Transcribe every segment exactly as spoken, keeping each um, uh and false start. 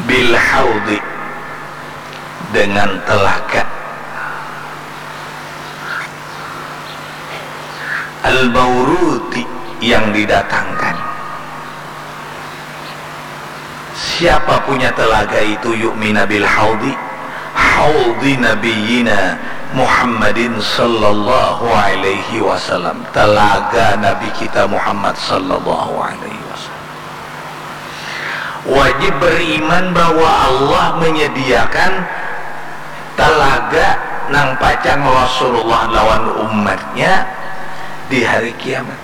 Bil haudi, dengan telaga. Al mauruti, yang didatangkan. Siapa punya telaga itu, yu'mina bil haudi, haudi nabiyina Muhammadin sallallahu alaihi wasallam, telaga Nabi kita Muhammad sallallahu alaihi wasallam. Wajib beriman bahwa Allah menyediakan telaga nang pacang Rasulullah lawan umatnya di hari kiamat.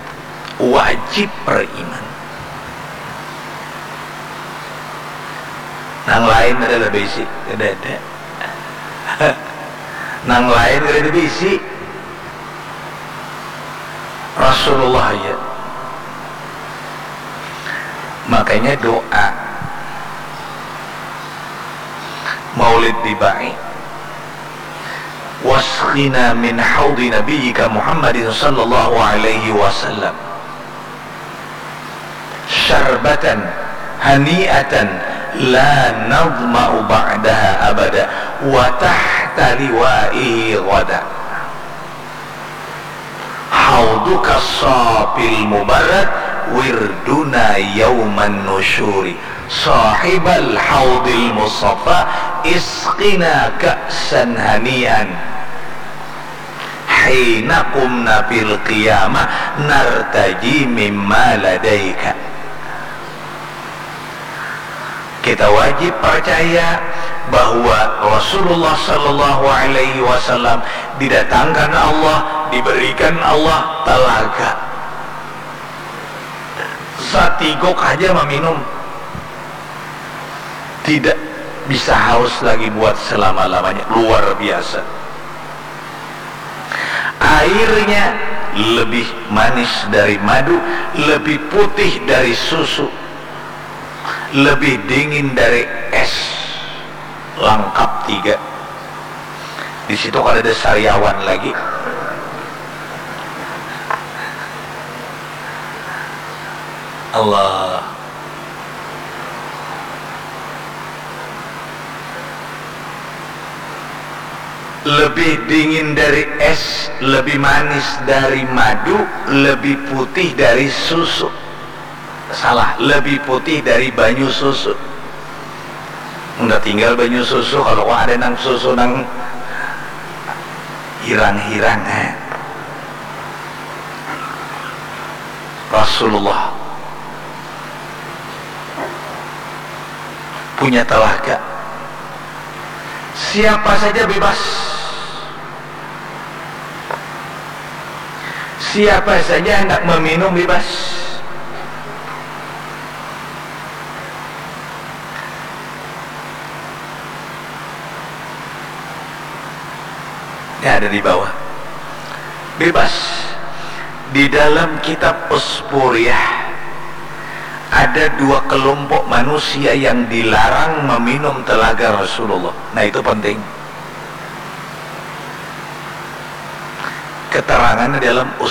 Wajib beriman. Nang lain ada lebih isi, ada ada. Nang lain kada ada bisi. Rasulullah aja. Makanya doa Maulid diba'i, wasqina min haudi nabiyyika Muhammadin sallallahu alaihi wasallam syarbatan hani'atan la nadma'u ba'daha abada wa tahta liwa'ihi ghada. Hauduka safil mubarak wirduna yauman nusyuri. Sahibal haudil mustafa isqina ka'san hani'an hina qumna fil qiyamah nartaji mimma ladaika. Kita wajib percaya bahwa Rasulullah sallallahu alaihi wasallam didatangkan Allah, diberikan Allah telaga. Satiguk aja meminum, tidak bisa haus lagi buat selama-lamanya. Luar biasa. Airnya lebih manis dari madu, lebih putih dari susu, lebih dingin dari es. Langkap tiga. Di situ kada ada sariawan lagi. Allah. Lebih dingin dari es, lebih manis dari madu, lebih putih dari susu. Salah, lebih putih dari banyu susu. Unda tinggal banyu susu, kalau ada nang susu nang hirang-hirang, eh. Rasulullah punya telaga. Siapa saja bebas. Siapa saja hendak meminum bebas. Ini ada di bawah. Bebas. Di dalam kitab Uspuriyah ada dua kelompok manusia yang dilarang meminum telaga Rasulullah. Nah, itu penting. Keterangan dalam